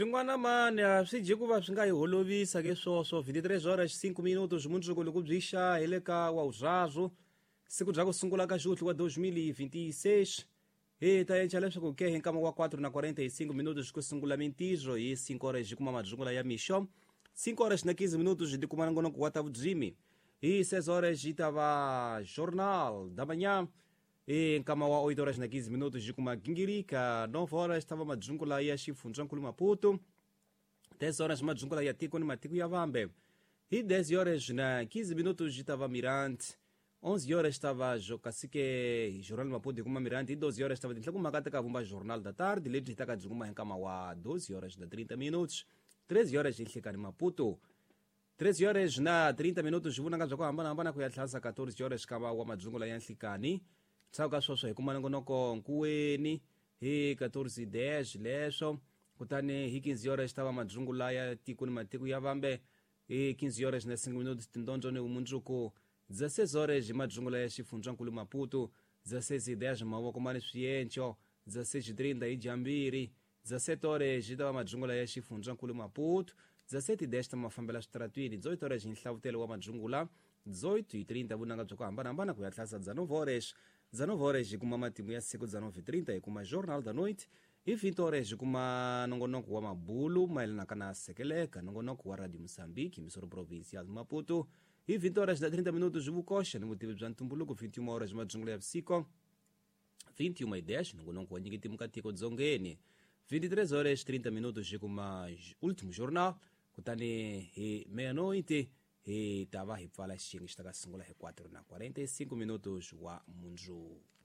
Swin'wana mani a swi dyi ku va swi nga hi holovisa ke swoswo. 23 horas 5 minutos mundzuku loko byi xa hi le ka wa vuraru siku bya ku sungula ka xuhlu wa 2026 hi ta enca leswaku ke hi nkama wa 4 na 45 minutos ku sungula mintirho hi 5 horas hi kuma madzungula ya mixo, 5 horas na 15 minutos hi tikuma nongonoko wa ta vudzimi, hi 6 horas hi ta va Jornal da Manhã, hi nkama wa 8 horas na 15 minutos hi kuma gingirika, 9 horas ta va madzungula ya xifundzankulu Maputo, 10 horas madzungula ya tiko ni matiko ya vambe, hi 10 horas na 15 minutos hi ta va Mirante, 11 horas estava Kasike Jornal Maputo hi kuma Mirante, hi 12 horas estava tinhlokomhaka ta ka vumba Jornal da Tarde lebyi hi ta ka byi kuma hi nkama wa 12 horas na 30 minutos, 13 horas hi nhlikani Maputo, 13 horas na 30 minutos hi vunanga bya ku hambanahambana ku ya tlhansa 14 horas kava wa madzungula ya nhlikani. Ndzhaku ka sweswo hi kuma nongonoko nkuweni hi 14:10 leswo, kutani hi 15 horas tava madzungula ya tiko ni matiko ya vambe, hi 15 horas na 5 minutos tindondzo ni vumundzuku, 16 horas hi madzungula ya xifundzankulu Maputo, 16:10 mavoko mani swienco, 16:30 hi jambiri, 17 horas hi tava madzungula ya xifundzankulu Maputo, 17:10 ta mafambela switaratwini, 18 horas hi nhlavutelo wa madzungula, 18:30 vunanga bya ku hambanahambana ku ya tlhasa 19 horas, 19 horas hi kuma matimu ya siku, 19:30 hi kuma Jornal da Noite, hi 20 horas hi kuma nongonoko wa mabulu mayelanaka na sekeleka, nongonoko wa Radio Mozambique Emissora Provincial Maputo, hi 20 horas na 30 minutos vukoxa ni vutivi bya ntumbuluko, 21 horas hi madzungula ya vusiku, 21:10 nongonoko wa nyiketimu ka tiko dzongeni, 23 horas 30 minutos hi kuma Último Jornal, kutani hi meia-noite hi ta va hi pfala xiyenge xi ta ka sungula hi 4 na 45 minutos wa mundzuku.